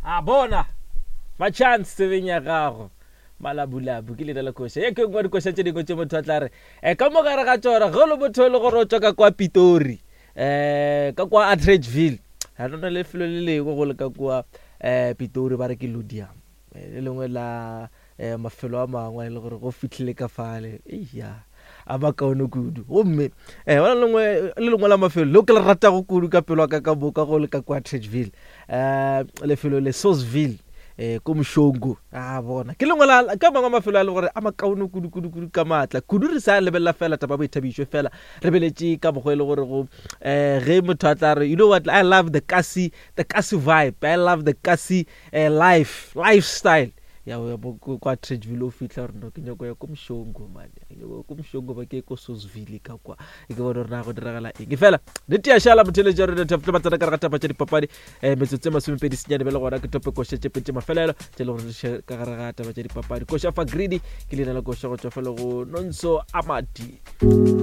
A bona machance tsebeng ya gago malabulabu ke leina la koša ye ke nngwe dikoša tše dingwe tše motho a tla re um ka mo gare ga tsona ge o le motho e le gore o tswa ka kwa pitori um ka kwa atteridgeville ga nona lefelo le lengwe go le ka kua um pitori ba re ke ludium le lengwe la um mafelo a mangwe e le gore go fihlile ka fale eya a makaone kudu gomme um gona lengwe le lengwe la mafelo leo ke le ratago kudu ka pelo ka ka boka go le ka kwa Atteridgeville um lefelo le Sourceville um ko Mošongo a bona ke lengwe la ka mangwe mafelo a le gore a makaone kudu kudu kudu ka maatla kudu re sa lebelela fela taba boithabišo fela re beletše ka mokgwa e le gore go um ge motho a tla re you know what I love the kasi the kasi vibe I love the kasi uh, life lifestyle ya ya kwa Atteridgeville o fihla gore no ke nyako ya ko Mshongo man ke nyako ko Mshongo ba ke ko Sosville ka kwa ke bone gore na go diragala eng fela nnete ya šala motheletši wa rena thapelo ba tsena ka re ga taba tša dipapadi um metsotso e masomepedi senyane bjale gona ke tope koša tše pedi tše mafelelo tše le gore re ka gare ga taba tša dipapadi koša fa greedy ke leina la koša go tšwa fela go nonso amadi.